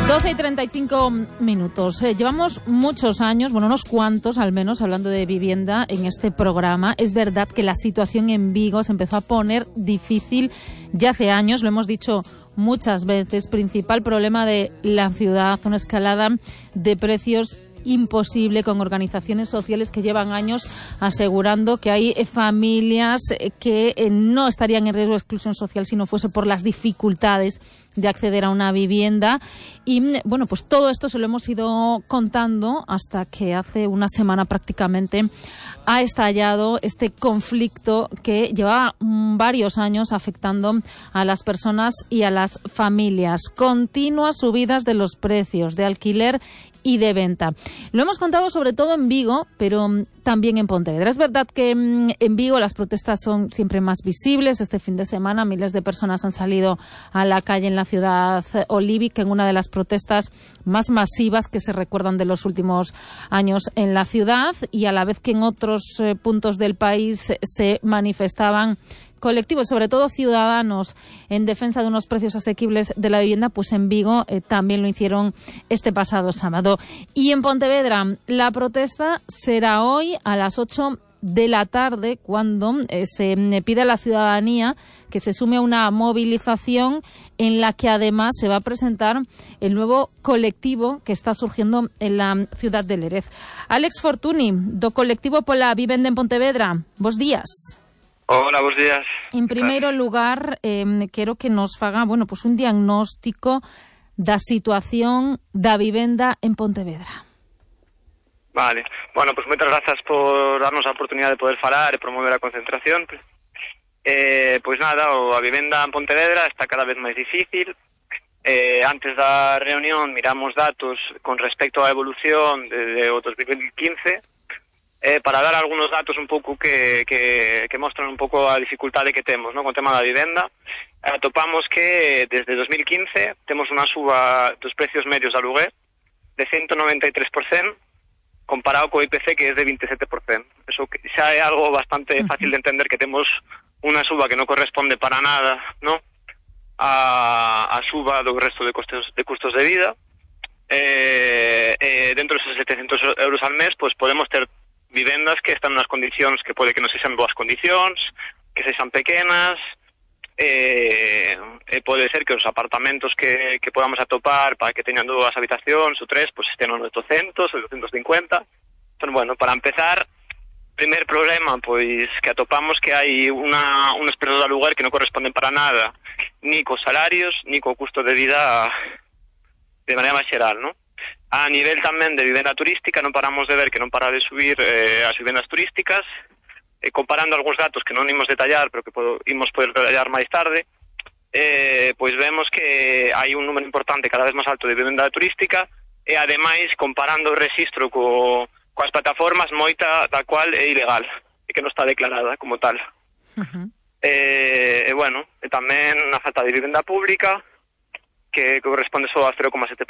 12:35. Llevamos muchos años, bueno, unos cuantos al menos, hablando de vivienda en este programa. Es verdad que la situación en Vigo se empezó a poner difícil ya hace años, lo hemos dicho muchas veces. Principal problema de la ciudad, una escalada de precios imposible, con organizaciones sociales que llevan años asegurando que hay familias que no estarían en riesgo de exclusión social si no fuese por las dificultades de acceder a una vivienda. Y bueno, pues todo esto se lo hemos ido contando hasta que hace una semana prácticamente ha estallado este conflicto que lleva varios años afectando a las personas y a las familias. Continuas subidas de los precios de alquiler y de venta. Lo hemos contado sobre todo en Vigo, pero también en Pontevedra. Es verdad que en Vigo las protestas son siempre más visibles. Este fin de semana miles de personas han salido a la calle en la ciudad olívica en una de las protestas más masivas que se recuerdan de los últimos años en la ciudad, y a la vez que en otros puntos del país se manifestaban colectivos, sobre todo ciudadanos, en defensa de unos precios asequibles de la vivienda, pues en Vigo también lo hicieron este pasado sábado. Y en Pontevedra la protesta será hoy a las 8 de la tarde, cuando se pide a la ciudadanía que se sume a una movilización en la que además se va a presentar el nuevo colectivo que está surgiendo en la ciudad de Lérez. Alex Fortuny, do colectivo pola vivenda en Pontevedra. Bos días. Hola, bos días. En primeiro lugar, quero que nos faga, bueno, pues un diagnóstico da situación da vivenda en Pontevedra. Vale. Bueno, pues moitas grazas por darnos a oportunidade de poder falar e promover a concentración. Pois nada, a vivenda en Pontevedra está cada vez máis difícil. Antes da reunión miramos datos con respecto á evolución de o 2015, para dar algunos datos un pouco que mostran un pouco a dificultade que temos, ¿no?, con o tema da vivenda. Atopamos que desde 2015 temos unha suba dos precios medios de aluguer de 193%, comparado co IPC, que é de 27%. Eso xa é algo bastante fácil de entender, que temos unha suba que non corresponde para nada, ¿no?, a suba do resto de custos de vida. Dentro deses 700 euros al mes, pues podemos ter vivendas que están nas condicións que pode que non sexan boas condicións, que sexan pequenas, pode ser que os apartamentos que podamos atopar para que teñan 2 habitacións ou 3, pues estén nos 800 ou 250. Entón, bueno, para empezar, primer problema, pois que atopamos que hai unos prezos de aluguer que non corresponden para nada ni cos salarios ni co custo de vida de maneira máis xeral, non? A nivel tamén de vivenda turística, non paramos de ver que non para de subir as vivendas turísticas. Comparando algúns datos que non imos detallar, pero que imos poder detallar máis tarde, pois vemos que hai un número importante, cada vez máis alto, de vivenda turística, e ademais, comparando o rexistro coas plataformas, moita da cual é ilegal e que non está declarada como tal. Bueno, tamén a falta de vivenda pública, que corresponde só a 0,7%.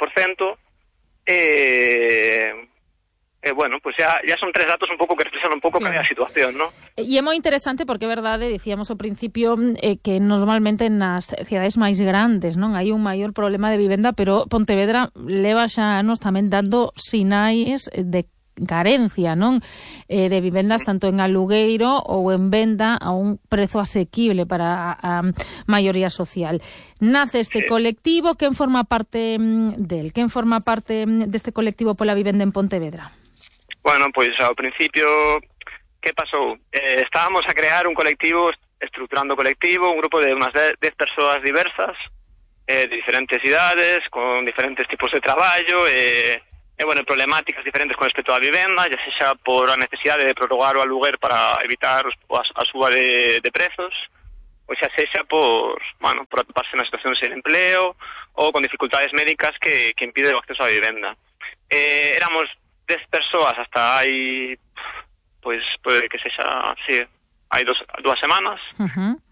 Bueno, pues ya son 3 datos un pouco que expresan un pouco claro, que é a situación, ¿no? E é moi interesante porque é verdade, dicíamos ao principio, que normalmente nas cidades máis grandes, non, hai un maior problema de vivenda, pero Pontevedra leva xa anos tamén dando sinais de carencia, non, de vivendas tanto en alugueiro ou en venda a un prezo asequible para a maioría social. Nace este colectivo, quen forma parte del? Quen forma parte deste colectivo pola vivenda en Pontevedra? Bueno, pois ao principio, que pasou? Estábamos a crear un colectivo, estruturando colectivo, un grupo de unas 10 persoas diversas, de diferentes idades, con diferentes tipos de traballo, bueno, problemáticas diferentes con respecto á vivenda, ya sexa por a necesidade de prorrogar o aluguer para evitar a suba de prezos, ou xa sexa por atoparse na situación sen empleo ou con dificultades médicas que impiden o acceso á vivenda. Éramos 10 persoas hasta hai, pois, pode que sexa, sí, hai 2 semanas,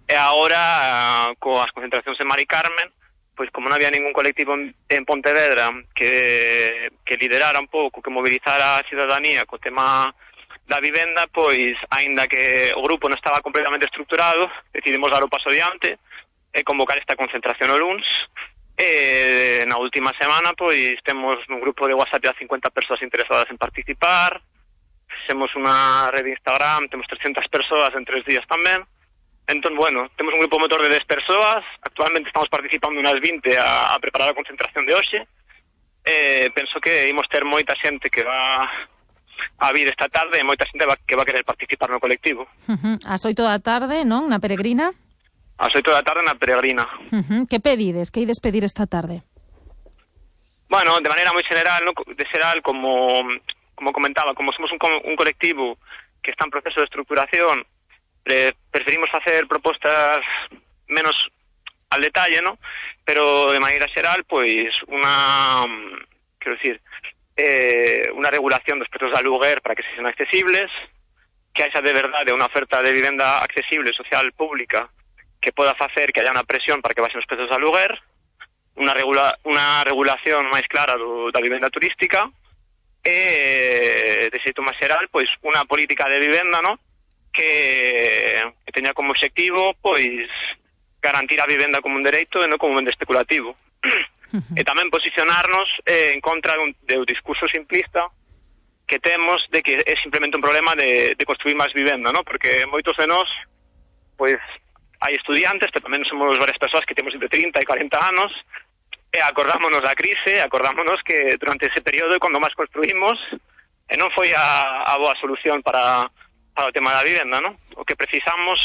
e agora, coas concentracións en Mari Carmen, pois como non había ningún colectivo en Pontevedra que liderara un pouco, que mobilizara a ciudadanía co tema da vivenda, pois, aínda que o grupo non estaba completamente estruturado, decidimos dar o paso adiante e convocar esta concentración o luns, na última semana, pois, temos un grupo de WhatsApp a 50 persoas interesadas en participar, temos unha rede de Instagram, temos 300 persoas en 3 días tamén. Entón, bueno, temos un grupo motor de 10 persoas, actualmente estamos participando unas 20 a preparar a concentración de hoxe. Penso que imos ter moita xente que va a vir esta tarde e moita xente que va a querer participar no colectivo. Ás 8 da tarde, non? Na Peregrina? Ás 8 da tarde na Peregrina. Que pedides? Que ides pedir esta tarde? Bueno, de maneira moi general, ¿no? De xeral, como comentaba, como somos un colectivo que está en proceso de estructuración, preferimos facer propostas menos al detalle, ¿no? Pero de maneira xeral, pois, unha regulación dos prezos de aluguer para que sexan accesibles, que haxa de verdade unha oferta de vivenda accesible, social, pública, que poda facer que haya unha presión para que baixen os prezos de aluguer, unha regulación máis clara da vivenda turística, e, de xeito máis xeral, pois, unha política de vivenda, ¿no? Que teña como obxectivo, pois, garantir a vivenda como un dereito e non como un ben especulativo. E tamén posicionarnos en contra do discurso simplista que temos de que é simplemente un problema de construir máis vivenda, ¿no? Porque moitos de nós, pois, hai estudiantes, pero tamén somos varias persoas que temos entre 30 e 40 anos, e acordámonos da crise, acordámonos que durante ese período, cando máis construímos, non foi a boa solución para o tema da vivenda, ¿no? O que precisamos,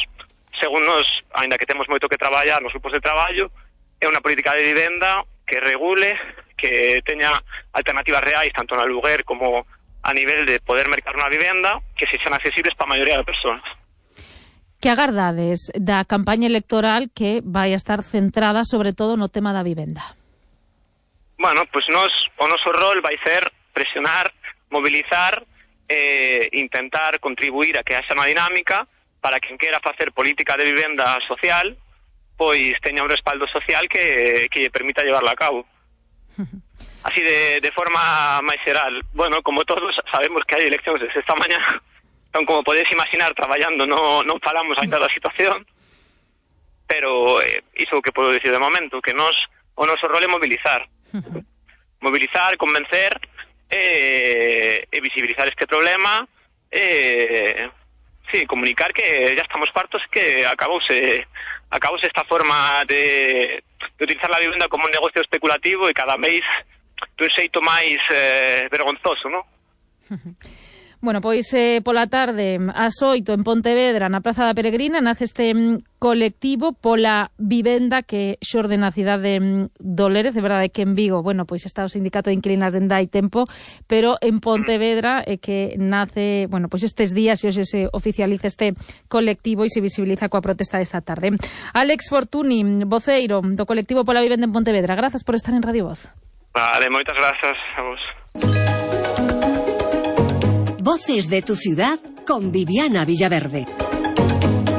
según nos, ainda que temos moito que traballar nos grupos de traballo, é unha política de vivenda que regule, que teña alternativas reais, tanto no aluguer como a nivel de poder mercar unha vivenda, que sexan accesibles para a maioría das persoas. Que agardades da campaña electoral que vai a estar centrada sobre todo no tema da vivenda? Bueno, pois o noso rol vai ser presionar, mobilizar, intentar contribuir a que haxa unha dinámica para quen quera facer política de vivenda social, pois teña un respaldo social que lle permita llevarla a cabo. Así de forma máis xeral. Bueno, como todos sabemos que hai eleccións desde esta mañá, entón, como podedes imaginar, traballando non falamos ainda da situación, pero iso o que podo dicir de momento, que o noso rol é mobilizar. Mobilizar, convencer e visibilizar este problema, comunicar que ya estamos fartos, que acabouse esta forma de utilizar la vivienda como un negocio especulativo e cada mes dun xeito máis vergonzoso, ¿no? Bueno, pois pola tarde, ás 8 en Pontevedra, na Praza da Peregrina, nace este colectivo pola vivenda que xorde na cidade do Lérez. De verdade que en Vigo, bueno, pois está o sindicato de inquilinas dende hai tempo, pero en Pontevedra é que nace, bueno, pois estes días e hoxe se oficializa este colectivo e se visibiliza coa protesta desta tarde. Álex Fortuny, voceiro do colectivo pola vivenda en Pontevedra, grazas por estar en Radio Voz. Vale, moitas grazas a vos. Voces de tu ciudad con Viviana Villaverde.